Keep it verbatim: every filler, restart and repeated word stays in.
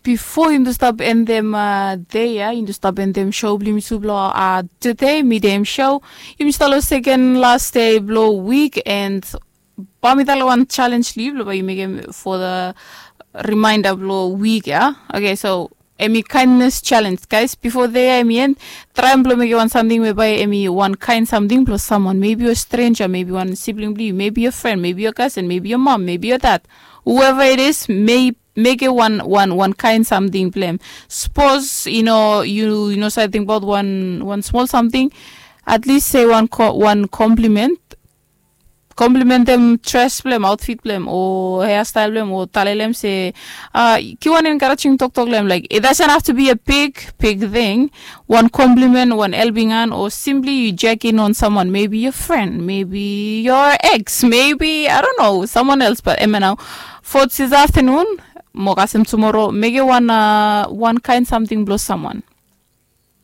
bifo yumi tu stap endem dei ya, yumi tu stap endem show blong yumi tu blong tude, midem show. Yumi stap long seken las dei blong wik, and bae mi talem wan challenge long yu blong bae yu mekem for the reminder blong wik ya. Okay, so em i kindness challenge, guys. Bifo dei ya em i en, traem blong mekem wan samting we bae em i wan kaen samting blong someone, maybe a stranger, maybe wan sibling blong yu, maybe a friend, maybe a cousin, maybe a mom, maybe a dad, whoever it is, may mekem wan wan wan kaen samting blong em. Sapos yu no yu yu no save tingbaot wan wan smol samting, at least se wan wan compliment. Komplimentem dres blong em, aotfit blong em, o heastael blong em, o talem long em se, givim wan encouraging toktok long em. Like, it doesn't have to be a big big thing. Wan compliment, wan helping hand, o simply yu check in on someone, maybe your friend, maybe your ex, maybe, I don't know, someone else. But em ya nao, for this afternoon, mo kasem tumoro, mekem wan wan kaen samting blong someone.